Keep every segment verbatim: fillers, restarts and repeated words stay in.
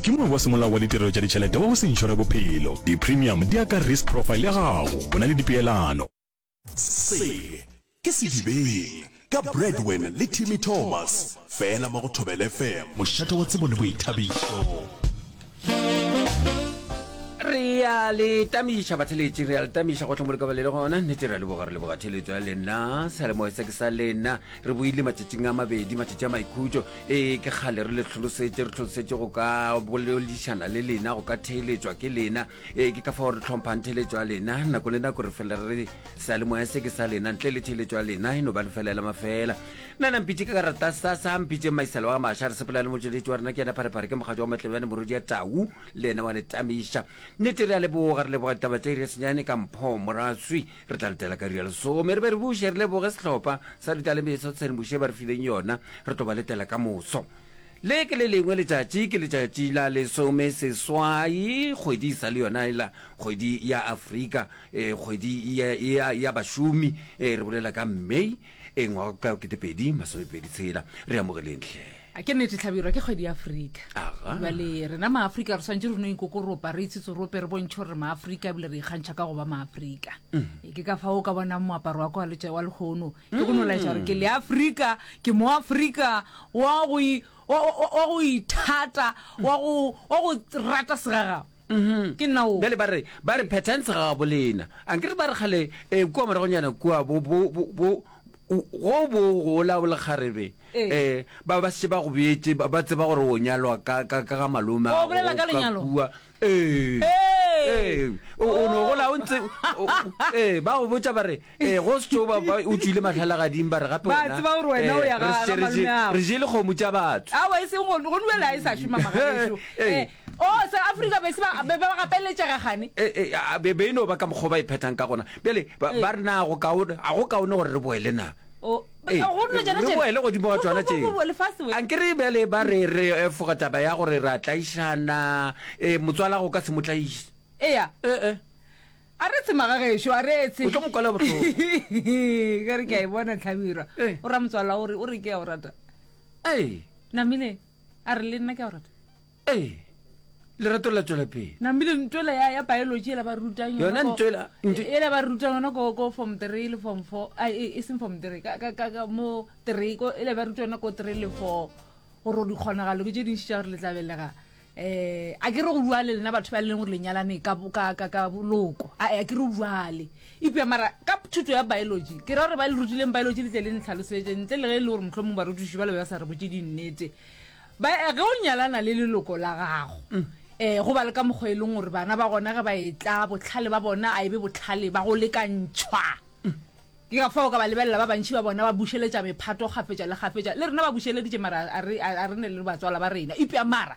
ke moabi wa semolao wa ditirelo tša ditšhelete wa go se inšore bophelo. Di-premium di ya ka risk profile ya gago. Go na le dipeelano. Se ke Sedibeng ka Bradwin le Timmy Thomas fela mo go Thobela F M, mošate wa tsebo le boithabišo. Re a le tamiša batheletši, re a le tamiša gohle mo le ka ba le le gona. Nnete re a leboga, re leboga theletšo ya lena. Seyalemoya se ke sa lena. Re boile matšatšing a mabedi, matšatši a maikhutšo. Ee, ke kgale re le hlolosetše, re hlolosetše go ka boledišana le lena, go ka theeletšwa ke lena. Ee, ke ka fao re hlomphang theeletšo ya lena. Nako le nako re fela re re seyalemoya se ke sa lena, ntle le theeletšo ya lena e no ba lefela la mafela. Nna na mpitše ka karata sa sa mpitše Maisela wa ga Masha, re sepela le motšweletši wa rena ke yena Pharephare, ke mogatšo wa Matlebjane morwedi ya Tau, le yena wa le tamiša. Nnete re a leboga, re leboga ditaba tša iri ya senyane ka Mpho Moraswi. Re tla letela ka iri ya lesome re be re buše re leboge sehlopha sa Ditalemeso Tshedimošo ye ba re fileng yona. Re tlo ba letela ka moso. Le ke le lengwe letšatši, ke letšatši la lesome seswai, kgwedi e sa le yona ela kgwedi ya Afrika, eh, kgwedi ya, ya, ya bašomi, eh, re bolela ka May, eh, ngwaga ka ketepedi masomepedi tshela. Re amogeleng hle. A ke nnete Hlabirwa, ke kgwedi ya Afrika. Aga. Bjale rena Maafrika re swanetše re no ikokoropa, re itsetsorope, re bontšhe gore re Maafrika ebile re ikgantšha ka go ba Maafrika. E, ke ka fao o ka bonang moaparo wa ka wa letša wa lehono ke go no laetša gore ke Leafrika, ke Moafrika wa go i- wa, wa, wa go ithata, wa go, wa go rata segagabo. Ke nna o. Bjale ba re, ba re phethang segagabo lena. Ankere ba re kgale, eh, kua moragonyana kua bo, bo, bo, bo, go bo gola o le kgarebe, Ee. eh, ba ba šetše ba go beetše, ba, ba tseba gore o nyalwa ka, ka, ka ga malome O a bolela gago ka ka lenyalo? kua. Ee. Ee. Ee. O, o no gola o ntse, o, o, ee, ba go botša ba re, ee, go se tšo ba, ba, o tšwile mahlalagading, ba re gape Ba wena, tseba gore wena o eh, ya re ga, šetše ga re malome je, ago. re jele kgomo tša batho. Aowa, e seng go, go nuela e sa šoma magagešo. Ee. Eh, oh, se Afrika be se ba, be ba gapeletšega gane. E, e, a, be, be e no ba ka mokgwa o ba e phethang ka gona. Bjale, ba, Ee. ba re na go kaone, a go kaone gore re boele na? O, Ee, go nna tšona re tšela. boele godimo ga Go, tšona go, go, tše. go, go, lefase we. Ankere bjale ba re re efoga taba ya gore re a tlaišana, e, motswala go ka se mo tlaiše. Eya. E, e. A re tshe magagešo, a re tshe. O tlo mo kwela bohloko. Ka re ke a e bona Hlabirwa. Ee. O ra motswala o re, o re ke a o rata. Ee. Namile, a re le nna ke a o rata. Ee. Lerato la tšwela pele. Namile ntwela ya, ya biology ela ba rutang yona ko, ntwela, ntwe- ela ba rutang yona ko, ko form three le form four, a, e, e seng form three, ka, ka, ka, ka mo three, ko, ela ba rutang yona ko three le four, gore dikgonagalo ke tše dintši tša gore le tla belega. Eh, a ke re go bua le lena batho ba e leng gore le nyalane ka, ka, ka, ka boloko. A, a ke re go bua le. Eupša mara ka thuto ya biology, ke ra gore ba le rutileng biology le tle le ntlhalosetše, ntle le ge e le gore mohlomong barutiši ba le be ba sa re botše dinnete. Ba, ge o nyalana le leloko la gago, um go ba le ka mokgwa e leng gore bana ba gona ge ba etla, bohlale ba bona a e be bohlale ba go lekantšhwa. Ke ka fao ka ba lebelela ba bantši ba bona ba bušeletša mephato kgafetša le kgafetša. Le rena ba bušeleditše mara a re, a re ne le batswala ba rena. Eupša mara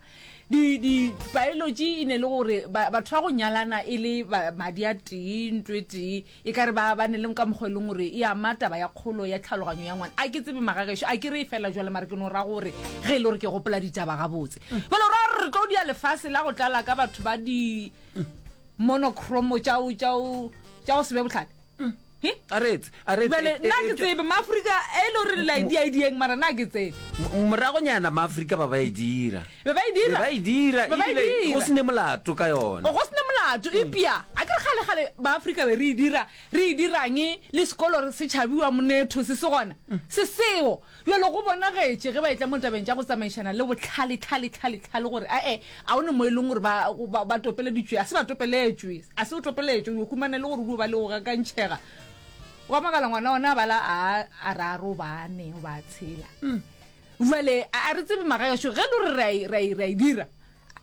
di, di biology e ne le gore ba, batho ba go nyalana e le ba, madi a tee, ntlo e tee, e ka re ba, ba ne le ka mokgwa e leng gore e ama taba ya kgolo ya tlhaloganyo ya ngwana. A ke tsebe magagešo, a ke re e fela jwale mara ke no ra gore ge e le gore ke gopola ditaba gabotse. Bjale o ra gore re tlo dia lefase la go tlala ka batho ba di monochrome tša go, tša go, tša go se be bohlale. He? A re etse, a re etse. Bjale, E, nna e, ke tsebe, Maafrika e le gore le la e dia e dieng, mara nna ke tsebe. M-, moragonyana Maafrika ba ba e dira. Be ba e dira. Be ba e dira, Be ba e ebile dira. go se ne molato ka yona. Go se ne molato, eupša a ke re kgale kgale Maafrika be re e dira, re e dirang le sekolo re se tšhabiwa monetho se se gona, se seo. Bjale go bonagetše ge ba etla mo tabeng tša go tsamaišana le bohlale, tlhale, tlhale, tlhale gore ae, a o ne mo e leng gore ba, ba, ba topeleditšwe, a se ba topeletšwe, a se o topeletšwe, o yo humana e le gore o dio ba le go gakantšhega. Wa makala ngwana ona a bala a, a raro, ba ane, ba tshela. Bjale a, a re tsebe magaešo ge e le gore re a e, re a e, re a e dira.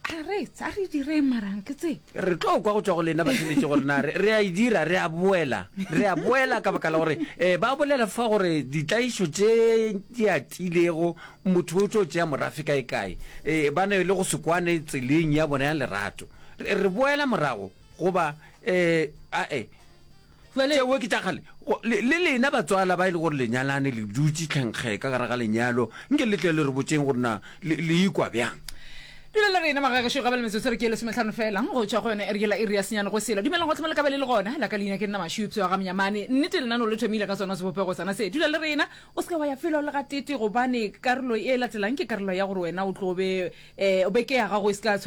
A re, a re direng mara ke tsebe. Re tlo kwa go tšwa go lena batheeletši gore na re, re a e dira, re a boela, re a boela ka baka la gore eh, ba bolela fa gore ditlaišo tše di atilego, motho o tlo tšea morafe kae kae, eh, ba ne le go se kwane tseleng ya bona ya lerato. Re, re boela morago goba eh, ae. Jwale Tšeo ke tša kgale. Go, le, le lena batswala ba e le gore le nyalane, le dutše tlhenkge ka gare ga lenyalo, nke le tle le re botšeng gore na le, le ikwa bjang. Dula le rena magagešo ga bjale metsotso re ke lesomehlano fela go tšwa go yona iri yela iri ya senyane go sela. Dumelang gohle mo le ka ba le le gona. La ka leina ke nna Mašupše wa ga Mnyamane. Nnete lenaneo le thomile ka sona sebopego sona se. Dula le rena, o se ke wa ya felo le gatete gobane karolo e latelang ke karolo ya gore wena o tlo be, eh, beke ya gago e se ka tshwela